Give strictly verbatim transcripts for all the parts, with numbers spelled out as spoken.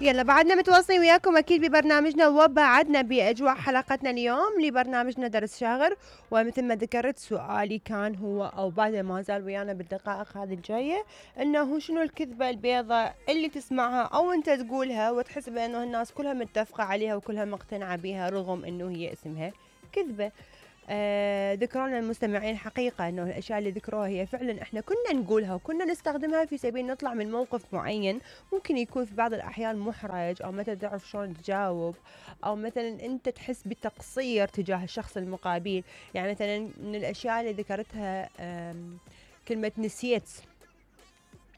يلا بعدنا متواصلين وياكم أكيد ببرنامجنا، وبعدنا بأجواء حلقتنا اليوم لبرنامجنا درس شاغر. ومثل ما ذكرت سؤالي كان هو أو بعد ما زال ويانا بالدقائق هذه الجاية، إنه شنو الكذبة البيضاء اللي تسمعها أو أنت تقولها وتحس بأنه الناس كلها متفقة عليها وكلها مقتنعة بها رغم إنه هي اسمها كذبة. آه ذكرونا المستمعين حقيقة أنه الأشياء اللي ذكروها هي فعلا إحنا كنا نقولها وكنا نستخدمها في سبيل نطلع من موقف معين ممكن يكون في بعض الأحيان محرج، أو مثلا تعرف شلون تجاوب، أو مثلا أنت تحس بالتقصير تجاه الشخص المقابل. يعني مثلا من الأشياء اللي ذكرتها كلمة نسيت،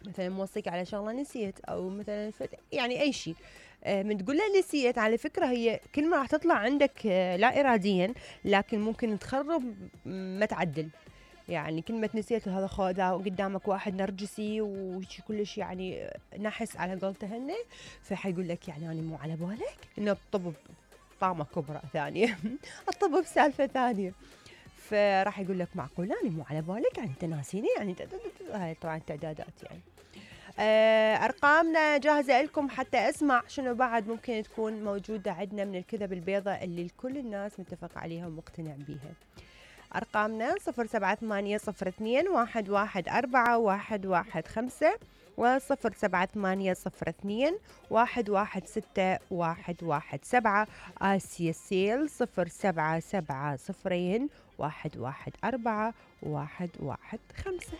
مثلا موصيك على شغلة نسيت، أو مثلا يعني أي شيء من تقول له نسيت، على فكرة هي كلمة راح تطلع عندك لا إراديا لكن ممكن تخرب ما تعدل. يعني كلمة نسيت، هذا خذ قدامك واحد نرجسي وشي كلش يعني نحس على قولته هني، فحيقول لك يعني أنا مو على بالك إنه الطب طامة كبرى ثانية الطب بسالفة ثانية، فراح يقول لك معقول أنا مو على بالك يعني أنت ناسيني، يعني هاي طبعا تعدادات. يعني أرقامنا جاهزة لكم حتى أسمع شنو بعد ممكن تكون موجودة عندنا من الكذب البيضاء اللي كل الناس متفق عليها ومقتنع بيها. أرقامنا صفر سبعة ثمانية صفر اثنين واحد واحد أربعة واحد واحد خمسة وصفر سبعة ثمانية صفر اثنين واحد واحد ستة واحد واحد سبعة. آسيا سيل صفر سبعة سبعة صفرين واحد واحد أربعة واحد واحد خمسة.